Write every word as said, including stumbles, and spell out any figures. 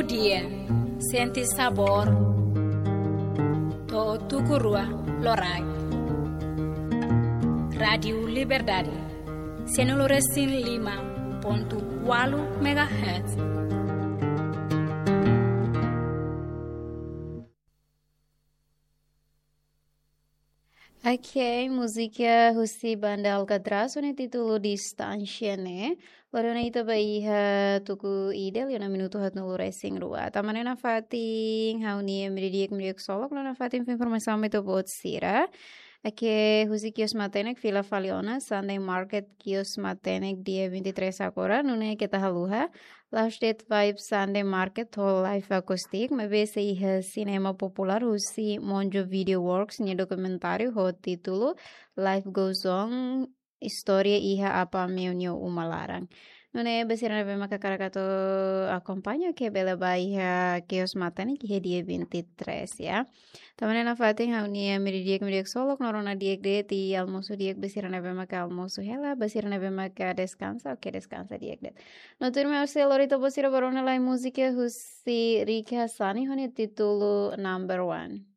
Di'ak, sente sabór, to'o tuku rua loraik. Rádiu Liberdade, sianulu resin lima pontu ualu megahertz. Ok, múzika husi banda Alcatraz ho nia títulu Distánsia ne'e. Loron ne'e ita ba iha tuku ida liu ona minutu haatnulu resin rua. Tanba ne'e nafatin ha'u-nia media di'ak, media di'ak ksolok, no nafatin fó informasaun mai ita-boot sira. Ok, husi kios matenek fila fali ona, Sunday Market kios matenek dia vinte e três agora, nune'e keta haluha. Last Date Vibe Sunday Market ho live akustik, maibé sei iha sinema populár husi Monjo Video Works nia dokumentáriu ho títulu Life Goes On, Istória Iha Apa Meu nia Uma Laran. Nune'e ba sira ne'ebé maka hakarak atu akompaña, ke bele ba iha kios matenek iha dia vinte e três, ya. Tanba ne'e nafatin ha'u-nia media di'ak, media di'ak ksolok, no rona di'ak de'it, i almosu di'ak ba sira ne'ebé maka almosu hela, ba sira ne'ebé maka deskansa, ok, deskansa di'ak de'it. No tuirmai ha'u sei lori ita-boot sira ba rona lai múzika husi Ricky Hassani ho nia títulu Number One.